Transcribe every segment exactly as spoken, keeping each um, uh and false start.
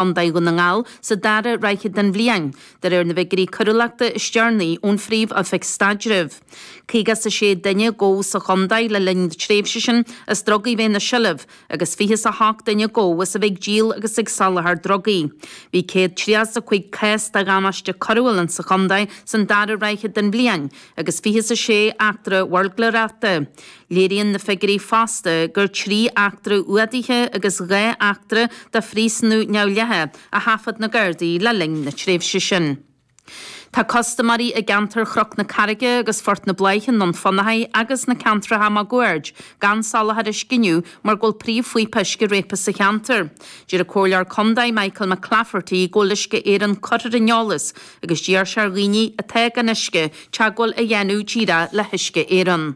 Chontae Dhún na nGall sa dara ráithe den bhliain, de réir na bhfigiúirí coiriúlachta is deireanaí ón Phríomh-Oifig Staidrimh. Caoga is a sé duine a gabhadh sa chontae le linn na tréimhse sin as drugaí bheith ina seilbh agus fiche is a hocht duine a gabhadh as a bheith ag díol agus ag soláthar drugaí. Bhí céad tríocha is a cúig cás de dhamáiste coiriúil sa chontae san dara ráithe den bhliain agus fiche is a sé eachtra bhuirgléireachta. Léiríonn na figiúirí fosta gur trí eachtra fhuadaithe agus dhá eachtra de phríosúnú neamhdhleathach a thaifead na Gardaí le linn na tréimhse sin. Tá custaiméirí i gceantar Chnoc na Carraige agus Phort na Bláiche i nDún Fionnachaidh agus na ceantracha máguaird gan soláthar uisce inniu mar go bhfuil príomhphíopa uisce réabtha sa cheantar. Deir an Comhairleoir Contae Michael McClafferty go bhfuil Uisce Éireann curtha ar an eolas agus d'iarr sé ar dhaoine atá gan uisce teagmháil a dhéanamh díreach le hUisce Éireann.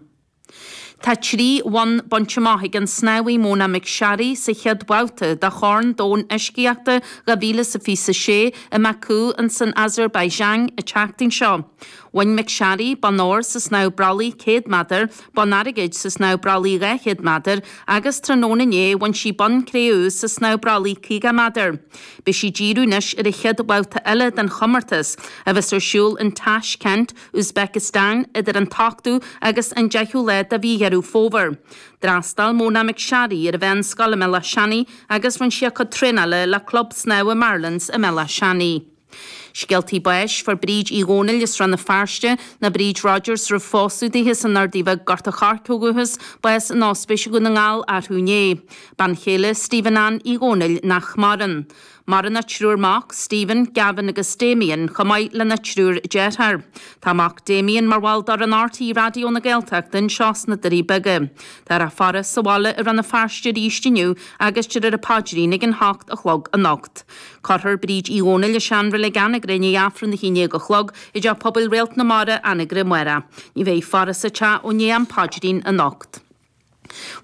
Tá trí bhonn bainte amach ag an snámhaí Mona McSharry sa chéad bhabhta de Chorn Domhanda Uiscíochta dhá mhíle is a fiche a sé i mBaku in san Azerbaijan an tseachtain seo. Bhain McSharry bonn óir sa snámh brollaigh céad méadar, bonn airgid sa snámh brollaigh dhá chéad méadar agus tráthnóna inné bhain sí bonn cré-umha sa snámh brollaigh caoga méadar. Beidh sí ag díriú anois ar an chéad bhabhta eile den chomórtas a bheas ar siúl in Tashkent, Uzbekistan idir an t-ochtú agus an deichiú lá de mhí Dheireadh Fómhair. D'fhreastail Mona McSharry ar an mheánscoil i mBéal Átha Seanaidh agus rinne sí a cuid traenála le Club Snámha Marlins i mBéal Átha Seanaidh. Scéaltaí báis fuair Bríd Uí Dhónaill as Rann na Feirste nó Bríd Rogers roimh phósadh dithe san Ardaí Bheag Gort a' Choirce ó dhúchas, bás in Ospís Dhún na nGall arú inné. Bean chéile Stephen Ann Uí Dhónaill nach maireann. Maireann a triúr mac, Stephen, Gavin agus Damien, chomh maith lena triúr dearthár. Tá mac Damien mar bhall d'fhoireann RTÉ Raidió na Gaeltachta anseo sna Doirí Beaga. Tá a faire sa bhaile i Rann na Feirste arís inniu agus déarfar an paidrín ag an hocht a chlog anocht. Cuirfear Bríd Uí Dhónaill i seanreilig Anagaire i ndiaidh Aifreann a haon déag a chlog i dteach pobail Réalt na Mara Anagaire amárach. Ní bheidh faire sa teach ó ndiaidh an paidrín anocht.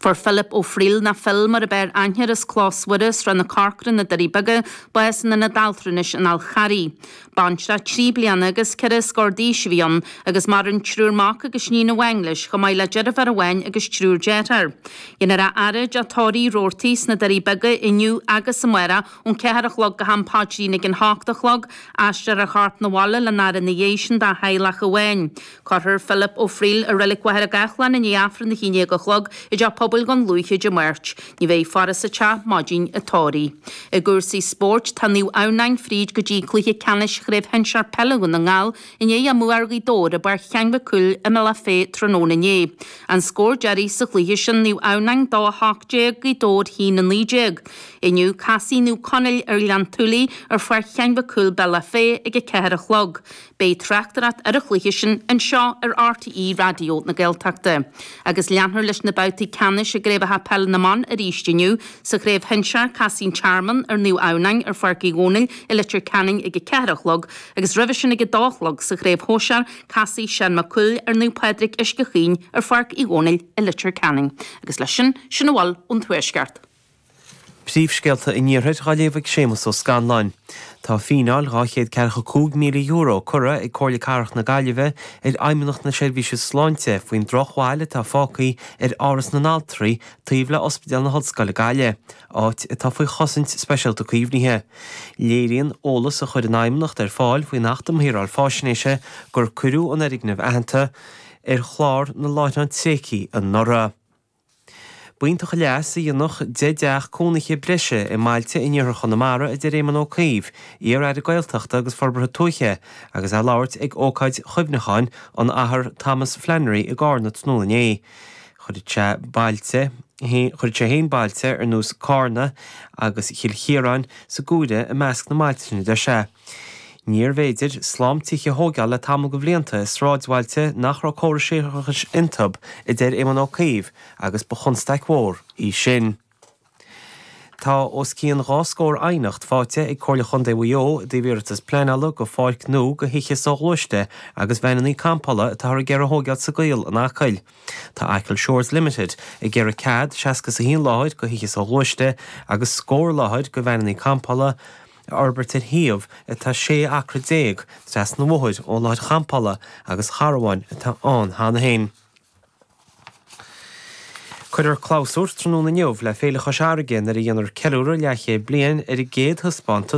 Fuair Philip Ó Frighil nó Phil mar ab fhearr aithne air as Clós Mhuire, Srath na Corcra, na Doirí Beaga, bás in ionad altranais an Fháil Charraigh. Baintreach trí bliana agus ceithre scór d'aois a bhí ann agus maireann triúr mac agus iníon amháin leis chomh maith le deirfiúr amháin agus triúr dearthár. Déanfar a fhaire i dTeach Tórraimh Roarty sna Doirí Beaga inniu agus amárach ón ceathair a chlog go ham paidrín ag an hocht a chlog, aistreofar a chorp 'na bhaile lena fhaire ina dhiaidh sin dá theaghlach amháin. Cuirfear Philip Ó Frighil i Reilig Mhachaire Gathlán i ndiaidh Aifreann a haon déag a chlog i dteach pobail Dhún Lúiche Dé Máirt. Ní bheidh faire sa teach maidin an tórraimh. I gcúrsaí spóirt, tá Naomh Adhamhnáin fríd go dtí cluiche ceannais Chraobh Shinsear Peile Dhún na nGall i ndiaidh a mbua ar Ghaoth Dobhair i bPáirc Sheáin Mhic Cumhaill i mBealach Féich tráthnóna inné. An scór deiridh sa chluiche sin Naomh Adhamhnáin dó a hocht déag, Gaoth Dobhair haon a naoi déag. Inniu casfaidh Naomh Conaill ar Ghleann tSúilí ar Pháirc Sheáin Mhic Cumhaill Bealach Féich ag a ceathair a chlog. Beidh tráchtaireacht ar an chluiche sin anseo ar RTÉ Raidió na Gaeltachta. Agus leanfar leis na babhtaí ceannais i gcraobhacha peile na mban arís inniu. Sa chraobh shinsear, casfaidh an Tearmann ar Naomh Adhamhnáin ar Pháirc Uí Dhónaill i Leitir Ceanainn ag a ceathair a chlog agus roimhe sin ag a dó a chlog sa chraobh shóisear, casfaidh Seán Mac Cumhaill ar Naomh Pádraig Uisce Chaoin ar Pháirc Uí Dhónaill i Leitir Ceanainn. Agus leis sin, sin a bhfuil ón Tuaisceart. Príomhscéalta an Iarthair á léamh ag Séamus Ó Scanláin. Tá fíneáil dhá chéad ceathracha cúig míle euro curtha ag Comhairle Cathrach na Gaillimhe ar Fheidhmeannacht na Seirbhíse Sláinte faoin drochbhail atá fágtha ar Áras na nAltraí taobh le Ospidéal na hOllscoile Gaillimh, áit atá faoi chosaint speisialta caomhnaithe. Léiríonn eolas a chuir an Fheidhmeannacht ar fáil faoin Acht um Shaoráil Faisnéise gur cuireadh an fhoirgneamh aitheanta ar chlár na láithreán tréigthe anuraidh. B'iontach an leas a dhéanfadh deich dteach cónaithe breise i mbailte in iarthar Chonamara, a deir Éamon Ó Cuív, iar-aire Gaeltachta agus Forbartha Tuaithe, agus é ag labhairt ag ócáid chuimhneacháin an Athar Thomas Flannery i gCarna tráthnóna inné. Chuir sé bailte chuir sé féin bailte ar nós Carna agus Chill Chiaráin sa gcomhaireamh i measc na mbailte sin a deir sé. Níorbh fhéidir slám tithe a thógáil le tamall de bhlianta i sráidbhailte nach raibh córas séarachais iontu, a deir Éamon Ó Cuív, agus ba chonstaic mhór í sin. Tá os cionn dhá scór aighneacht faighte ag Comhairle Chontae Mhaigh Eo i dtaobh iarratas pleanála go pháirc nua do thithe soghluaiste agus veaineanna campála atáthar ag iarraidh a thógáil sa gCaol in Acaill. Tá Achill Shores Limited ag iarraidh cead seasca is a haon láthair do thithe soghluaiste agus scór láthair do veaineanna campála a fhorbairt ar shuíomh atá sé acra déag trasna an bhóthair ó láthair champála agus charbháin atá ann cheana féin. Cuirfear clabhsúr tráthnóna inniu le Féile Chois Fharraige nuair a dhéanfar ceiliúradh leathchéad bliain ar an gcéad thaispeántas